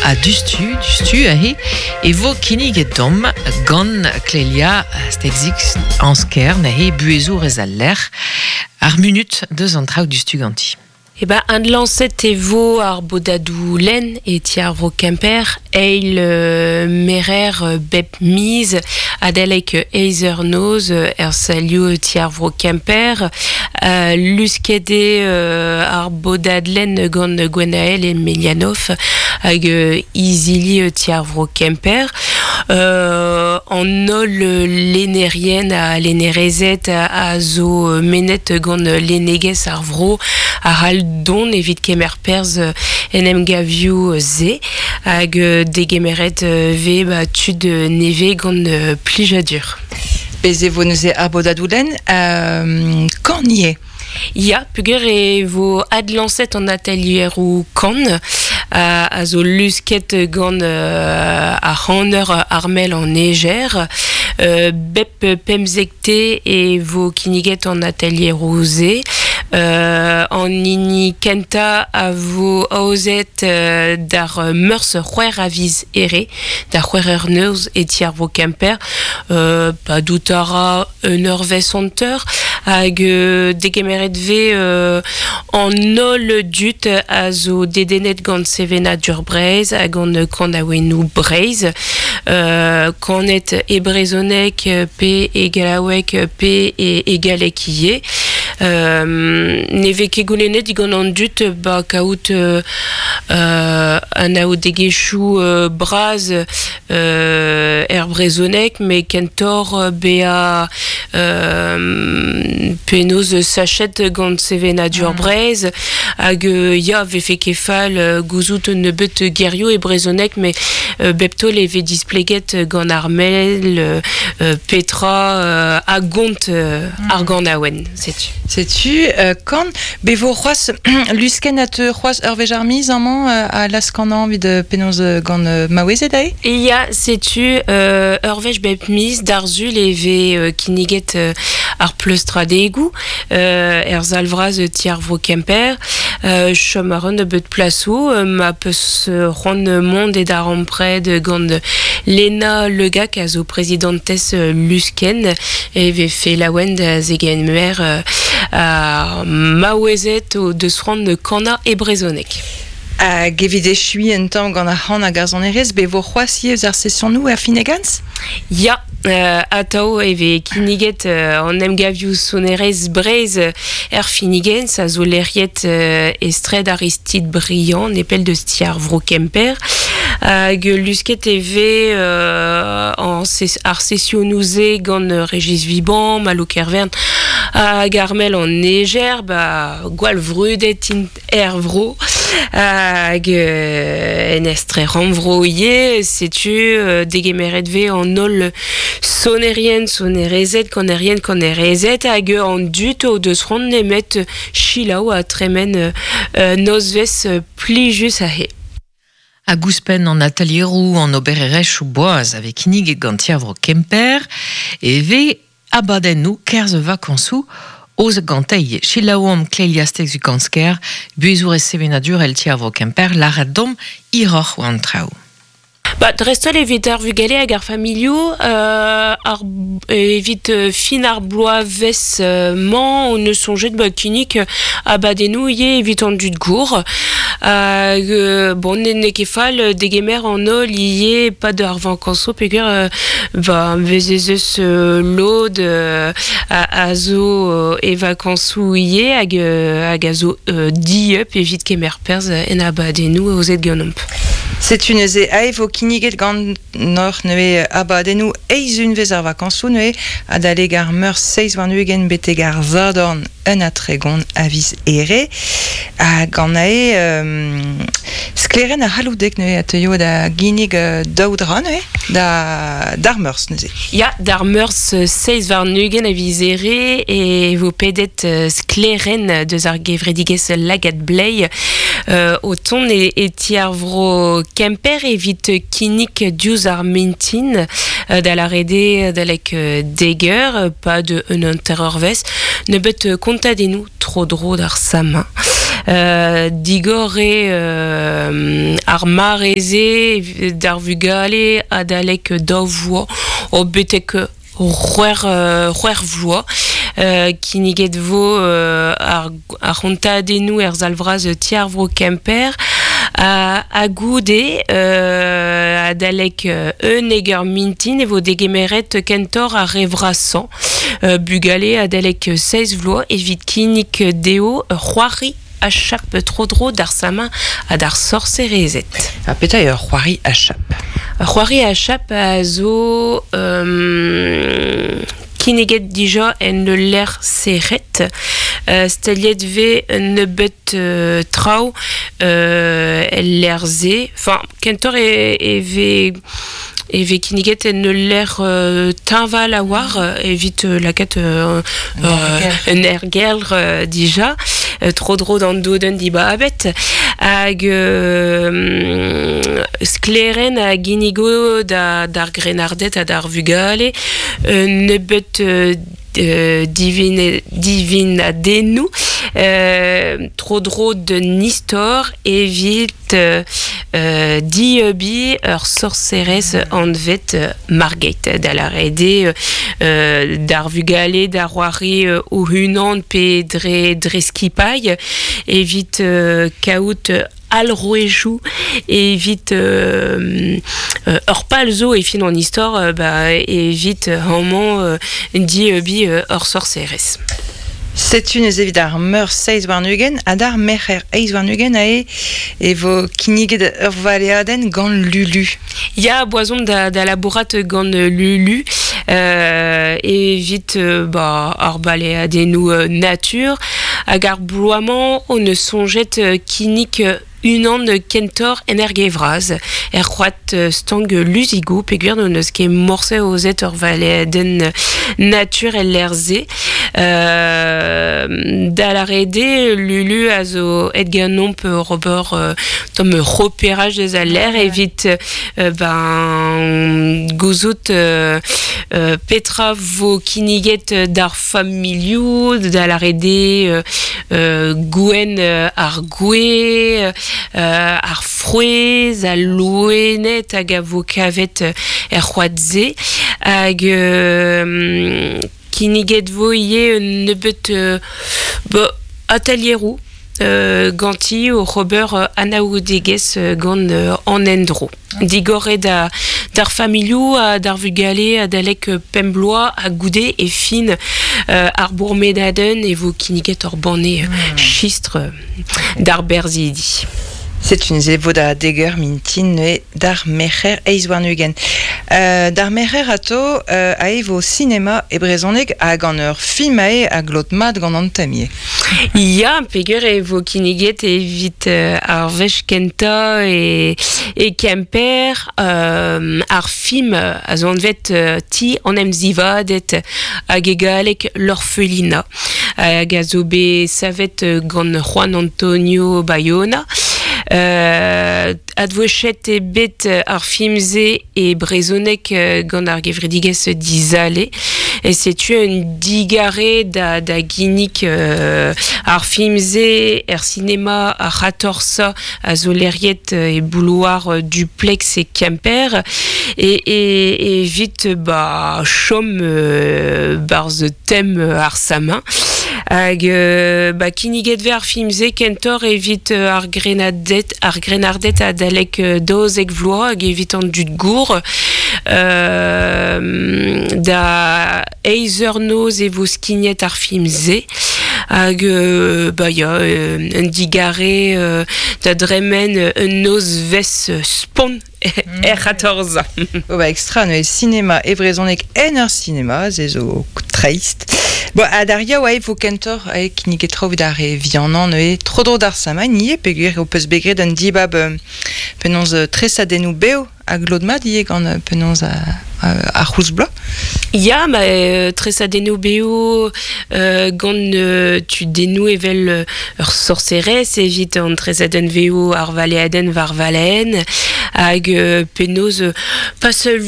Ha dustu, dustu aze e vo kinniget deomp gant Clélia Stegzix Ansker neuze buhezourez al lec'h ar munut deus an traoù dustu ganti. Eh ben, adlañset e vo ar bodadoù lenn e ti ar vro Kemper, eil merer bep miz adalek eizh eur noz er salioù ti ar vro Kemper. Lusket eo ar bodad lenn gant Gwenael Emelianoff hag izili ti ar vro Kemper. An holl lennerien ha lennerezed a zo mennet gant lennegezh ar vro a c'hall dont evit kemer perzh en emgavioù-se hag degemeret vez ba tud nevez gant plijadur. Bez' e vo neuze ar bodadoù-lenn kan ivez. Ya, peogwir e vo adlañset an atelieroù kan a zo lusket gant ar c'haner Armel an Eger. Bep pemzekte e vo kinniget an atelieroù-se. An hini kentañ a vo aozet d'ar Meurzh c'hwec'h a viz Here, da c'hwec'h eur noz e ti ar vro Kemper. Padout a ra un eurvezh hanter hag degemeret vez an holl dud a zo dedennet gant sevenadur Breizh ha gant kanaouennoù Breizh, kanet e brezhoneg pe e gallaoueg pe e galleg ivez. Ne vez ket goulennet digant an dud ba kaout anaoudegezhioù bras er brezhoneg met kentoc'h bezañ penaos sachet gant sevenadur Breizh hag ya 'vefe ket fall gouzout un nebeut gerioù e brezhoneg met bep taol e vez displeget gant ar mell petra a gont ar ganaouenn setu. Setu kan be vo c'hoazh luskenn a teu c'hoazh ur wech ar miz amañ a laz-kanañ evit penaos gant maouezed aze? Ya, setu ur wech bep miz d'ar Sul e vez kinniget ar pleustradegoù er sal vras ti ar vro Kemper. Chom a ran nebeut plasoù ma peus c'hoant mont e darempred gant Lena Le Gac a zo prezidantez Luskenn e vefe laouen da zegemer ar maouezed o deus c'hoant kanañ e brezhoneg. Hag evit echuiñ un tamm gant ar c'han hag ar sonerezh, bet vo c'hoazh ivez ar sesionoù er Finegans? Ya, atav e vez kinniget an emgavioù sonerezh Breizh er Finegans a zo lec'hiet e straed Aristide Briand, nepell deus ti ar vro Kemper. Hag lusket e vez ar sesionoù-se gant Régis Viban, Malo Kervern hag Armel an Eger, ba gwall vrudet int er vro hag en estre rannvro ivez setu degemeret vez an holl sonerien sonerezed kanerien kanerezed hag an dud o deus c'hoant nemet selaou ha tremen nozvezh plijus aze. Hag ouzhpenn an atelieroù, an obererezhioù boaz a vez kinniget gant Ti ar Vro Kemper e vez abadennoù kerzh vakañsoù oz gantei. Selaouomp Clélia Stegzu-Kansker, buhezourez sevenadurel Ti ar Vro Kemper, lâret domp hiroc'h war an traoù. Ba, dreist-holl evit ar vugale hag ar familhoù, ar, evit fin ar bloavezh-mañ hon eus soñjet ba kinnig abadennoù ivez evit an dud gour. Hag bon, n'eo ket fall degemer an holl ivez e-pad ar vakañsoù peogwir ba vez ez eus lod a zo e vakañsoù ivez hag hag a zo dieub evit kemer perzh en abadennoù aozet ganeomp. Setu neuze ae vo kinniget ganeoc'h neuze abadennoù eizh unvezh ar vakañsoù neuze adalek ar Meurzh 27 betek ar Sadorn un ha 30 a viz Here. Ha gant ae sklaerenn ar c'halloudeg neuze a teuio da ginnig daou dra neuze da d'ar Meurzh neuze. Ya, d'ar Meurzh 27 a viz Here e vo pedet sklaerenn deus ar gevredigezh Lagad Blei o tont e ti ar vro Kemper evit kinnig diouzh ar mintin. da lâret eo adalek dek eur, pad un hanter-eurvezh, nebeut kontadennoù tro-dro d'ar Samhain. Digor eo ar mare-se d'ar vugale adalek daou vloaz o betek c'hwec'h vloaz. Kinniget vo ar c'hontadennoù er sal vras Ti ar Vro Kemper ha goude adalek unnek eur mintin e vo degemeret kentoc'h ar re vrasañ bugale adalek seizh vloaz evit kinnig dezho ur c'hoari achap tro-dro d'ar Samhain ha d'ar sorserezed. Ha petra eo ur c'hoari achap? Ur c'hoari achap a zo kinniget dija en ul lec'h serret. Staliet vez un nebeud traoù el lec'h-se. Enfin, kentoc'h e vez e vez kinniget en ul lec'h teñval a-walc'h evit lakaat un aergelc'h dija tro-dro d'an dodenn dibabet hag sklaerenn a ginnigo d'ar grennarded ha d'ar vugale un nebeud divinadennoù tro-dro d'un istor evit dieubiñ ur sorserez anvet Margate, da lâret eo d'ar vugale da c'hoari o-unan pe dre skipailh evit kaout alc'hwezioù evit ur pal zo e fin an istor ba, evit amañ dieubiñ ur sorserez. Setu neuze evit ar meur seizh warn-ugent ha d'ar merc'her eizh warn-ugent aze e vo kinniget ur valeadenn gant Lulu. Ya, boazon da labourat gant Lulu evit ba, ar baleadennoù natur hag ar bloaz-mañ hon eus soñjet kinnig unan kentoc'h en Erge-Vras, er c'hoad stank Luzigoù, peogwir n'hon eus ket morse aozet ur valeadenn natur el lec'h-se. Da lâret eo, Lulu a zo aet ganeomp ober tamm reperaj eus al lec'h evit ben gouzout petra vo kinniget d'ar familhoù, da lâret eo gouenn ar gwez, ar frouezh, al loened hag a vo kavet er c'hoad-se. Hag kinniget vo ivez un nebeud atelieroù ganti oc'h ober anaoudegezh gant an endro. Digoret d'ar familhoù ha d'ar vugale adalek pemp bloaz ha goude e fin ar bourmenadenn e vo kinniget ur banne chistr d'ar berzhidi. Setu neuze e vo da dek eur mintin neuze d'ar Merc'her eizh warn-ugent. D'ar Merc'her atao ae vo sinema e brezhoneg ha gant ur film ae a glot mat gant an tem ivez. Ya, peger e vo kinniget evit ar wech kentañ e Kemper ar film a zo anvet Ti an emzivaded hag e galleg L'Orphelinat hag a zo bet savet gant Juan Antonio Bayona. Advouezhet eo bet ar film-se e brezhoneg gant ar gevredigezh Dizale. E setu un digarez da, da ginnig ar film-se er sinema ar c'hatorzañ a zo lec'hiet e bouloar Duplex e Kemper e, e, evit ba chom 'barzh tem ar Samhain. Hag ba kinniget 'vez ar film-se kentoc'h evit ar grennarded, ar grennarded adalek daouzek vloaz hag evit an dud gour. Da eizh eur noz e vo skignet ar film-se. Hag ba ya, un digarez da dremen un nozvezh spont er c'hatorzañ. Oh ba extra neuze sinema e brezhoneg en ur sinema, se zo dreist. Bon, ha d'ar yaou e vo kentoc'h e kinniget traoù evit ar re vihanañ neuze tro-dro d'ar Samhain ivez peogwir ho peus bet graet un dibab penaos tresadennoù bev ha glot mat ivez gant penaos ar c'houlz bloaz. Ya, ma tresadennoù bev gant tudennoù evel ur sorserez evit an tresadenn vev ar valeadenn war valeen hag penaos pas seul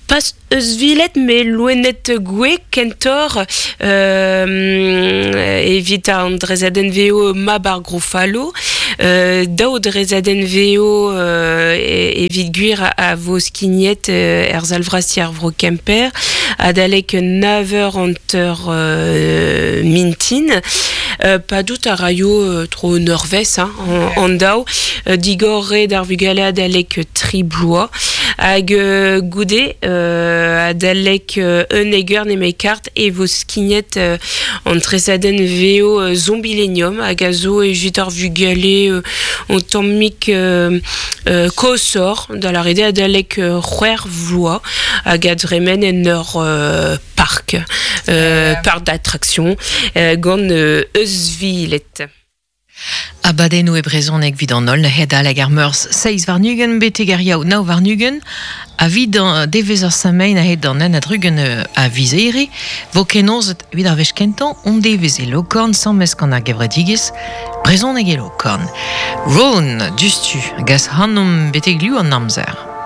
Pas eus vilet me loenet gwe kentor evit an drezadenn veo mab ar Grofalo, daou drezadenn veo evit gwir a vo skignet er zalvrasti ar vro Kemper, adalek 9h anter mintin, padout a raio tro neurvez hein, an daou, digor re d'ar vugale adalek tri bloa, hag goude adalek un eger ne kart e vo skignet an tresadenn veo Zombilenium hag a zo evit ar vugale on tammik kosor da la rede adalek c'hwer vloa hag a dremen en ur park, park d'attraction gant eusvilet. Abadennoù e brezhoneg evit an holl hedal hag ar meurzh seizh warn-ugent betek ar yaou nav warn-ugent ha evit an devezh ar Samein a-hed an en a-drugen a viz Here vo kenaozet evit ar wech kentañ on devezh e Lokorn sammez gant ar gevredigezh Brezhoneg e Lokorn. Ron, dustu, gas hanomp betek liv an amzer.